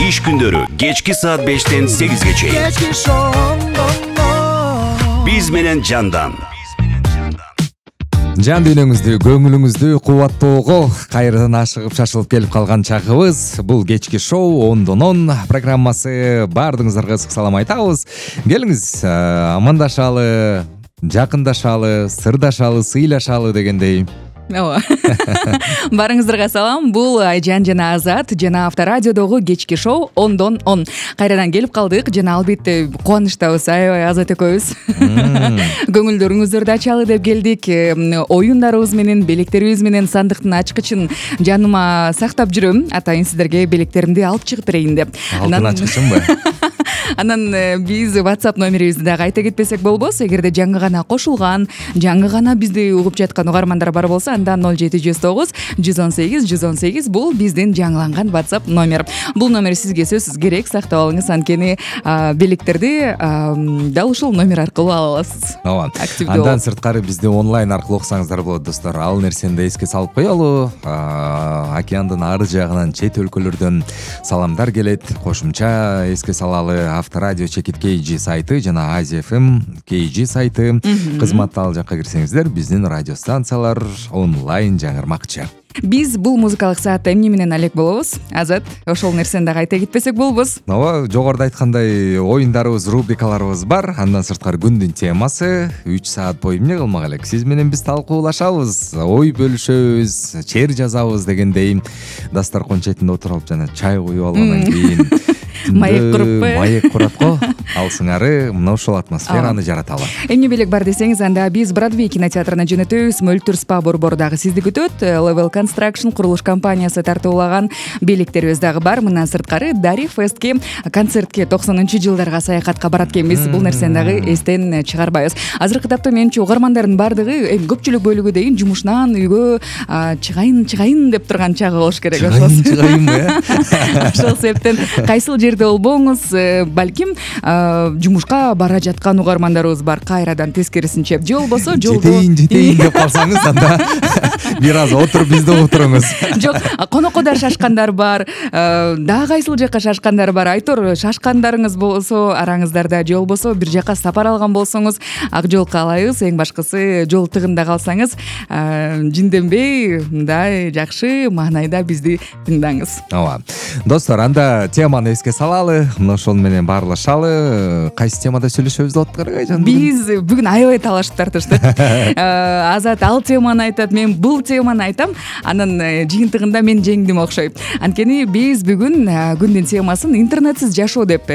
Иш күндөрү кечки саат 5-тен 8-ге чейин. Биз менен жандан. Жан дүйнөңүздү, көңүлүңүздү кубаттоого кайрадан ашыгып шашылып келип калган чагыбыз. Бул кечки шоу 10-10 программасы. Баардыгыңыздарга ысык салам айтабыз. Келиңиз, амандашалы, жакындашалы, сырдашалы, сыйлашалы дегендей. Ооба. Барыңыздарга салам. Бул Айжан жана Азат жана Авторадиодогу кечки шоу 10-10. Кайрадан келип калдык жана албетте кубанычтабыз. Аябай Азат экөөбүз. Көңүлдөрүңүздөрдү ачалы деп келдик. Оюндарыбыз менен, белектерибиз менен сандыктын ачкычын жаныма сактап жүрөм. Атайын сиздерге белектеримди алып чыгып берейин деп. Алтын ачкычымбы? Анан биз WhatsApp номерибизди дагы айта кетпесек болбос. Эгерде жаңы гана кошулган, жаңы гана бизди угуп жаткан угармандар бар болсо, анда 0709 118 118 бул биздин жаңыланган WhatsApp номер. Бул номер сизге сөзсүз керек. Сактап алыңыз, анткени белектерди дал ушул номер аркылуу ала аласыз. Ооба. Андан сырткары бизди онлайн аркылуу окусаңыздар болот, достор. Ал нерсени да эске салып коелу. Океандын ары жагынан, чет өлкөлөрдөн саламдар келет. Кошумча эске салалы, Авторадио чекит KG сайты жана Азия FM KG сайты кызматты. Ал жакка кирсеңиздер, биздин радио станциялар онлайн жаңырмакчы. Биз бул музыкалык саатта эмне менен алек болобуз? Азат, ошол нерсени дагы айта кетпесек болбос. Ооба, жогоруда айткандай оюндарыбыз, рубрикаларыбыз бар. Андан сырткары күндүн темасы 3 саат бою эмне кылмак элек? Сиз менен биз талкуулашабыз, ой бөлүшөбүз, чер жазабыз дегендей. Дасторкон четинде отуруп жана чай куюп алгандан кийин маек куруппу? Маек курат го. Алсыңары мына ушул атмосфераны жараталы. Эмне белек бар десеңиз, анда биз Бродвей кинотеатрына жөнөтөбүз. Мөлтүр спа борбору дагы сизди күтөт. Level Construction курулуш компаниясы тартуулаган белектерибиз дагы бар. Мындан сырткары Дари Фестке концертке 90-жылдарга саякатка барат экенбиз. Бул нерсени дагы эстен чыгарбайбыз. Азыркы тапта менимче угармандардын баардыгы, көпчүлүк бөлүгү дейин жумушунан үйгө чыгайын деп турган чагы болуш керек. Чыгайынбы? Ошол себептен кайсыл жерде болбоңуз, балким жумушка бара жаткан угармандарыбыз бар. Кайрадан тескерисинче же болбосо жолдо жетейин деп калсаңыз, анда бир аз отуруп бизди угуп туруңуз. Жок, конокодор шашкандар бар, дагы кайсыл жакка шашкандар бар. Айтор шашкандарыңыз болсо араңыздарда, же болбосо бир жакка сапар алган болсоңуз, ак жол каалайбыз. Эң башкысы жол тыгында калсаңыз, жинденбей, мындай жакшы маанайда бизди тыңдаңыз. Ооба. Достор, анда теманы эске салалы, мына ошол менен баарлашалы. Кайсы темада сүйлөшөбүз деп аттык Айжан? Биз бүгүн аябай талашып тартыштык. Азат ал теманы айтат, мен бул теманы айтам. Анан жыйынтыгында мен жеңдим окшойт. Анткени биз бүгүн күндүн темасын интернетсиз жашоо деп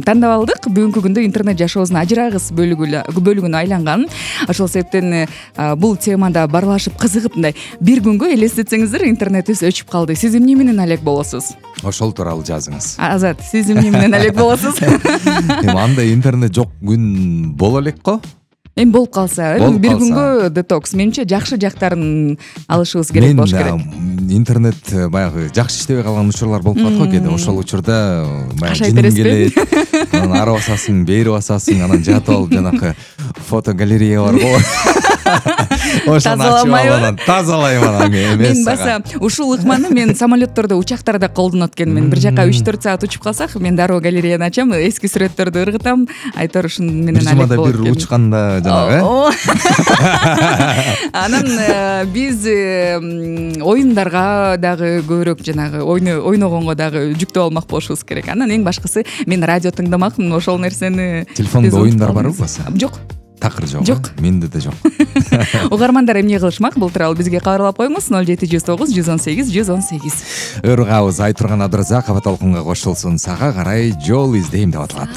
тандап алдык. Бүгүнкү күндө интернет жашообуздун ажырагыс бөлүгүнө айланган. Ошол себептен бул темада баарлашып кызыгып, мындай бир күнгө элестетсеңиздер, интернетибиз өчүп калды. Сиз эмне менен алек болосуз? Ошол тууралуу жазыңыз. Азат, сиз эмне менен алек болосуз? Андай интернет жок күн боло элек го. Эми болуп калса, бир күнгө детокс. Менимче жакшы жактарын алышыбыз керек болуш керек. Интернет баягы жакшы иштебей калган учурлар болуп калат го кээде. Ошол учурда баягы жиным келет, анан ары басасың, бери басасың, анан жатып алып жанакы фотогалерея бар го. Ошону ачып алып тазалайм анан эмес. Мен баса ушул ыкманы мен самолеттордо, учактарда колдонот экенмин. Бир жака 3-4 саат учуп калсак, мен дароо галереяны ачам, эски сүрөттөрдү ыргытам. Айтор ушун менен алек болот. Бир учканда жанагы. Анан биз оюндарга дагы көбүрөөк жанагы ойногонго дагы жүктөп алмак болушубуз керек. Анан эң башкысы мен радио тыңдамакмын. Ошол нерсени телефондо оюндар барбы баса? Жок. Такыр жок. Жок. Менде да жок. Угармандар эмне кылышмак? Бул тууралуу бизге кабарлап коюңуз 0709 118 118. Ыргабыз Айтурган Абдыразаков толкунга кошулсун. Сага карай жол издейм деп аталат.